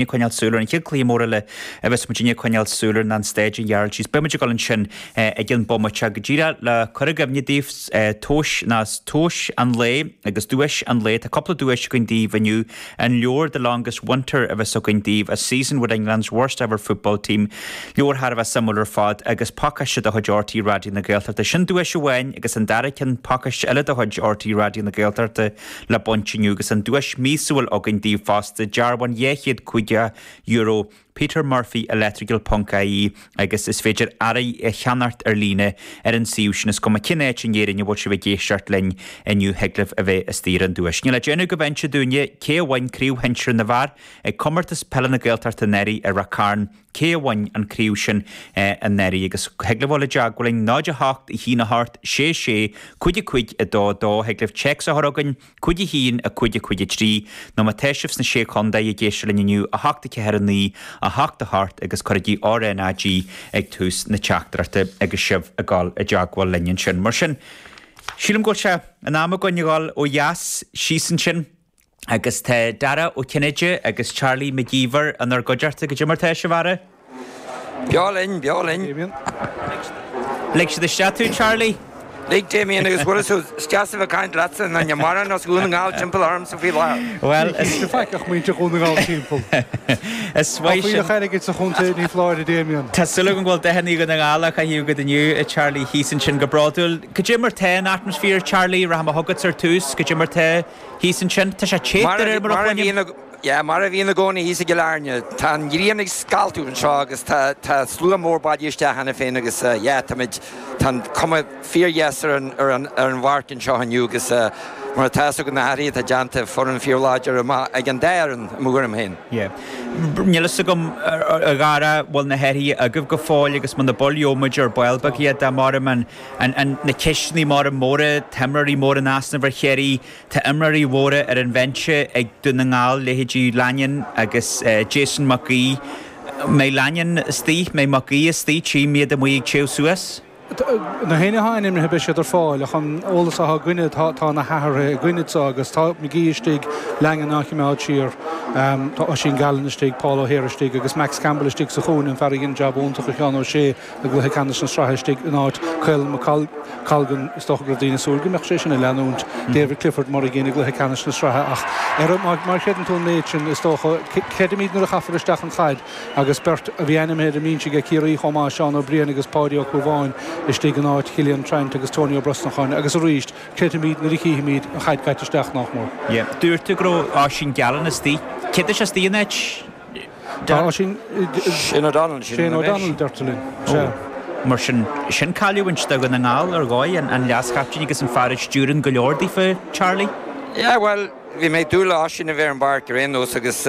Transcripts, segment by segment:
Ag coinneáil súil ar an chéad cluiche mór eile a bheas muidinne ag coinneáil súil air ná an Staid an Ghearailt síos. Beidh muid ag dul ansin i gcionn bomaite go díreach le cur i gcuimhne daoibh tomhais ná tomhas an lae agus duais an lae. Tá cúpla duais againn daoibh inniu. An leabhar The Longest Winter a bheas againn daoibh, A Season with England's Worst Ever Football Team. Leabhar thar a bheith suimiúil ar fad agus pacáiste de chuid RTÉ Raidió na Gaeltachta. Sin duais amháin agus an dara ceann pacáiste eile de chuid RTÉ Raidió na Gaeltachta le baint inniu agus an duais míosúil againn daoibh fosta, dearbhán €250 Peter Murphy Electrical ponc ie agus is féidir earraí a cheannacht ar líne ar an suíomh sin. Is cuma cén áit in Éirinn a bhfuil sibh ag éisteacht linn inniu thig libh a bheith istigh ar an duais. Níl le déanamh go bhinse dúinne cé a bhain Craobh Shinsir na bhFear ag Comórtas Peile na Gaeltachta anuraidh i Ráth Cairn. Cé a bhain an craobh sin anuraidh agus thig libh dul i dteagmháil linn 0 8 1 8 6 6 5 5 2 2 Thig libh téacs a chur chugainn 5 1 5 5 3 nó má tá sibh sna Sé Chontae ag éisteacht linn inniu 8 4 9 8 8 agus cuirigí RNAG ag tús na teachtaireachta agus sibh ag dul i dteagmháil linn ansin. Mar sin, sílim go bhfuil sé in am againn a dhul ó dheas síos ansin. Agus tá Dara Ó Cinnéide agus Charlie Mac Íomhair inár gcuideachta. Goidé mar tá sibh, a fheara? Beo linn, beo linn. Lig siad isteach tú, Charlie? Lig, Damien, agus bhfuil fhios agat, is deas a bheith ag caint leatsa, ná níl mórán as Dhún na nGall timpeall ormsa faoi láthair. Bhuel, is. Ní feic ach muintir Dhún na nGall timpeall. Is maith sin. Tá fuílleach airgid sa chontae, ní foláir, a Damien. Tá súil agam go bhfuil dathanna Dhún na nGall á chaitheamh agat inniu, a Charlie, thíos ansin go bródúil. Goidé mar tá an atmaisféar, Charlie? Rachaidh mé chugatsa ar tús. Goidé mar tá. Thíos ansin, tá sé te de réir mar a chluinim. Yeah, mar a bhíonn i gcónaí thíos i gCill Airne. Tá an ghrian ag scaltadh anseo agus tá tá slua mór bailithe isteach cheana féin agus yeah, táimid, tá an cuma fíordheas ar an ar an ar an bpáirc anseo inniu agus mar atá fhios agat na hathruithe atá déanta, foireann fíorláidir amach ag an dá fhoireann i mo thuairim féin. Yeah. Níl fhios agam a Dhara bhfuil na hathruithe agaibh go fóill agus muna bhfuil gheobhaidh muid ar ball beag iad dá mairim an an an na ceisteanna móra móra, tá imreoirí móra in easnamh ar Chiarraí, Tá imreoirí mhóra ar an bhinse ag Dún na nGall, leithéidí Lanyon agus Jason Mac Aoidh. Mbeidh Lanyon istigh? Mbeidh Mac Aoidh istigh? Tchím iad amuigh ag téamh suas. Na héinne atá ainmnithe beidh siad ar fáil ach an eolas atá againne tá na hathruithe againn anseo agus tá McGee istigh, Lanyon á choimeád siar, tá Oisín Gallen istigh, Paul O'Hare istigh agus Max Campbell istigh sa chúinne, an fear a dhein jab iontach a Sheáin O'Shea. I gcluiche ceannais na sraithe istigh in áit Caolan McColgan, is dócha go raibh daoine ag súil go mbeadh sé sin ag leanúint David Clifford mar a dhein i gcluiche ceannais na sraithe ach ar má chreideann tú an méid sin, is dócha, creidfimid nuair a chaithfear isteach an chaid agus beirt a bhí ainmnithe ar an mbinse aige Ciarraí chomh maith, Seán Ó Briain agus Páidí Ó Cúbháin istigh in áit Chillian Trant agus Tony Ó Brosnacháin agus arís creidfimid nuair a chífimid an chaid caite isteach, nach mór. Dúirt tú go raibh Oisín Gallen istigh. Cé tá sé istigh in áit? Tá Oisín. Shane O'Donnell, Shane O'Donnell, deirtear linn. Sea. Mar sin, sin cailliúint do Dhún na nGall ar dhóigh, an leaschaptaen agus an fear a stiúrann go leor daofa, Charlie? Yeah, bhuel, bhí mé ag dúil le Oisín a bheith ar an bpáirc ar aon nós agus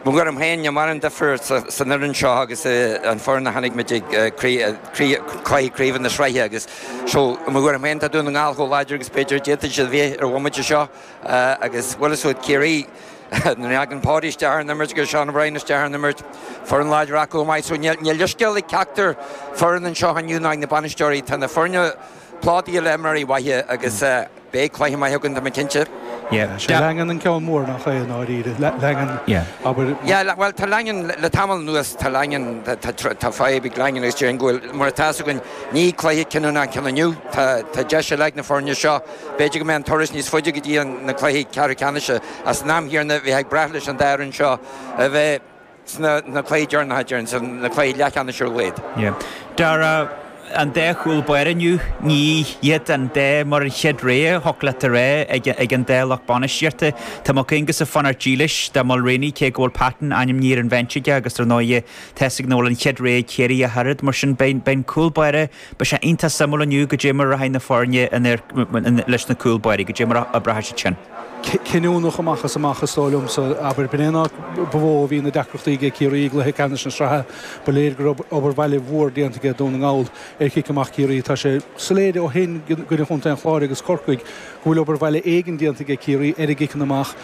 mo thuairim féin, níl mórán difear san fhoireann seo agus an foireann a chonaic muid ag cluiche craoibhe na sraithe agus so, i mo thuairim féin, tá Dún na nGall chomh láidir agus b'fhéidir a d'fhéadfadh siad a bheith ar bhomaite seo agus bhfuil fhios agat Ciarraí, Nuair a thagann Páidí isteach ar an imirt agus Seán O'Brien isteach ar an imirt, foireann láidir acu chomh maith. So níl leithscéal ag ceachtar foireann anseo inniu ná ag na bainisteoirí. Tá na foirne plódaithe le imreoirí mhaithe agus beidh cluiche maith againn, tá mé cinnte. Sé Langan an ceann mór nach é i ndáiríre. Langan, abair. Yeah, bhuel tá Langan, le tamall anuas tá Langan, tá fadhb ag Langan agus déarfainn go bhfuil, mar atá fhios againn, ní cluiche cinniúnach an ceann inniu. Tá deis eile ag na foirne seo. B'fhéidir go mbeidh an turas níos faide go dtí na cluichí ceathrú ceannais ach san am chéanna bheifeá ag brath leis an dá fhoireann seo a bheith sna cluichí deireanacha, déarfainn, sna cluichí leathcheannais ar a laghad. Dara, an dá chúl báire inniu, ní hiad an dá mar an chéad rogha, thiocfadh leat a rá, ag an dá lucht bainistíochta. Tá Mac Aonghusa ag fanacht dílis do Mulraney cé go bhfuil Patton ainmnithe ar an bhinse aige agus dar ndóighe tá fhios againn nach bhfuil an chéad rogha ag Ciarraí ach oiread. Mar sin beidh an cúl báire Beidh sé iontach suimiúil inniu goidé mar a rachaidh na foirne leis na cúl báirí, goidé mar a oibreoidh siad sin. Cinniúnach amach is amach is dóigh liomsa. Abair, b'in é an áit ba mhó a bhí na deacrachtaí aige Ciarraí i gcluiche ceannais na sraithe. Ba léir go raibh obair bhaile mhór déanta aige Dún na nGall ar chic amach Chiarraí. Tá sé soiléir ó shin i gcoinne Chontae an Chláir agus Corcaigh go bhfuil obair bhaile éigin déanta aige Ciarraí ar a gciceanna amach.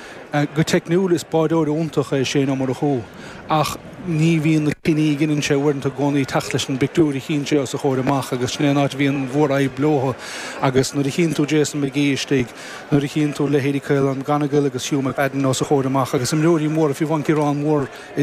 Go teicniúil is báireoir iontach é Shane Ó Murchú ach. Ní bhíonn na cinní a ghineann sé uaireanta i gcónaí ag teacht leis an bpictiúr a chíonn sé os a chomhair amach agus sin é an áit a bhíonn an mhórfhadhb leo agus nuair a chíonn tú Jason McGee istigh, nuair a chíonn tú leithéidí Caolán McGonigle agus Hugh McFadden os a chomhair amach agus imreoirí móra, fiú amháin Ciarán Moore.